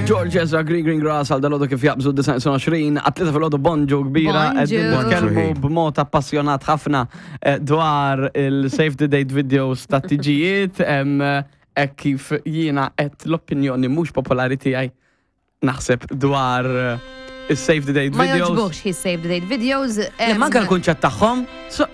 George Ezra Green Green Grass għal dalodu kif jaqbżu 29 għatlita fil-ħodu bonġu kbira qegħdin nitkellmu b'mod appassjonat ħafna eh, dwar il-save the date videos ta' tiġijiet hekk kif jiena qed l-opinjoni mhux popolari tiegħi naħseb dwar eh, il-save the date videos. Ma joġbux hi save the date videos. Le, manka l-kunċett tagħhom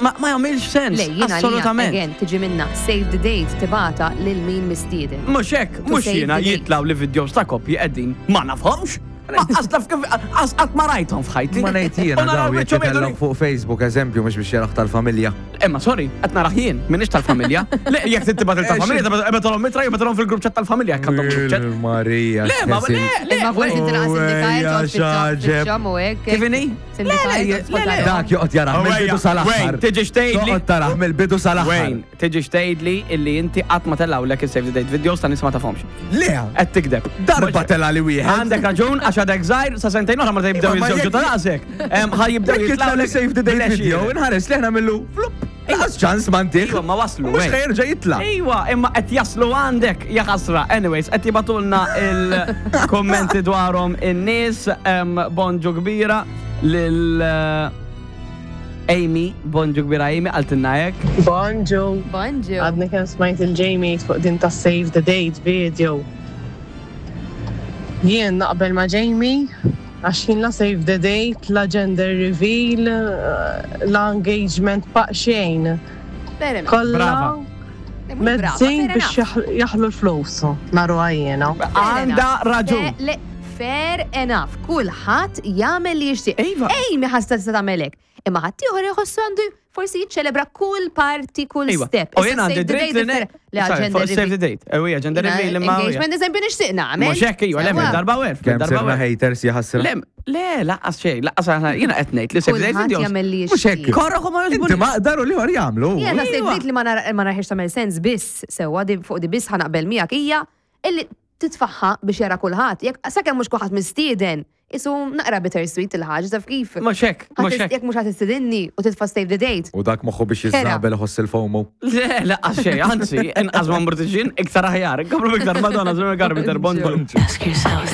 ma jagħmilx sens. Le, jiena assolutament. Again, tiġi minna save the date tibata lil min mistieden. Mhux hekk, mhux jiena jitlaw li videos ta' koppji qegħdin ma nafhomx. Għas kif għas ma rajthom f'ħajti. Ma ngħid jiena daw jekk jitellgħu fuq Facebook eżempju mhux biex jaraħ tal-familja. Imma sorry, qed narah jien, m'iniex tal-familja. Le, jekk trid tibgħat il-tal-familja, ibgħatilhom mitra, ibgħatilhom fil-grupp chat tal-familja jekk għandhom grupp chat. Marija. Le, ma le, le. Imma forsi tilqa' sindikajt joqgħod u hekk. Kif inhi? Le, le, le. Dak joqgħod jarah mill-bidu sal-aħħar. Tiġi xtejli. Toqgħod tarah mill-bidu sal-aħħar. Tiġi xtejli illi inti qatt ma tellgħulek il-save the date videos ta' nies ma tafhomx. Le! Qed tigdeb. Darba tela li wieħed. Għandek raġun għax għadek żgħir sa sentejn oħra meta jibdew jiżżewġu ta' raqsek. Ħa jibdew jitlgħu li save the date video, inħares li ħna millu flup. Laqas ċans m'għandih. Iva, ma waslu. Mhux ħa jerġa' jitla'. Iva, imma qed jaslu għandek, ja ħasra. Anyways, qed jibatulna il-kommenti dwarhom in-nies, bonġu kbira lil eh, Amy, bonġu kbira Amy, qaltilna hekk. Bonġu. Bonġu. Għadni kemm smajt il-Jamie fuq din ta' Save the Date video. Jien naqbel ma' Jamie għax jien la save the date, la gender reveal, la engagement pa' xejn. Kollha mezzin biex jaħlu l-flus, naruha jiena. Għandha raġun. Fair enough, kulħadd jagħmel li jixtieq. Iva. Amy ħassa tista' tagħmel hekk. Imma ħaddieħor iħossu għandu forsi jiċċelebra kull parti, kull Iva. step. U jien għandi dritt li ne. Le gender Save the date. Ewija, gender reveal imma. Engagement eżempju nixtieq nagħmel. Mhux hekk iva, le darba werf. Kemm sirna haters jaħasra. Le, le, laqqas xejn, laqqas aħna jiena qed ngħid li save the date videos. jagħmel li Mhux hekk. Korroħ u ma jogħġbunix. Inti maqdar u l-ieħor jagħmlu. Jiena save Iva. date li ma naraħiex tagħmel sens biss sewwa fuq di biss ħanaqbel miegħek hija illi titfaħħa biex jara kulħadd. Jekk sakemm mhux kulħadd mistieden, isu naqra bittersweet il-ħaġa taf kif. Mhux hekk, mhux hekk. Jekk mhux ħadd istidinni u titfa' save the date. U dak moħħu biex jiżżabel iħoss il-FOMO. Le, laqqas xejn, anzi, inqas ma mburtixin, iktar aħjar. Komplu iktar Madonna, żmien Carpenter, bonġu. Ask yourselves.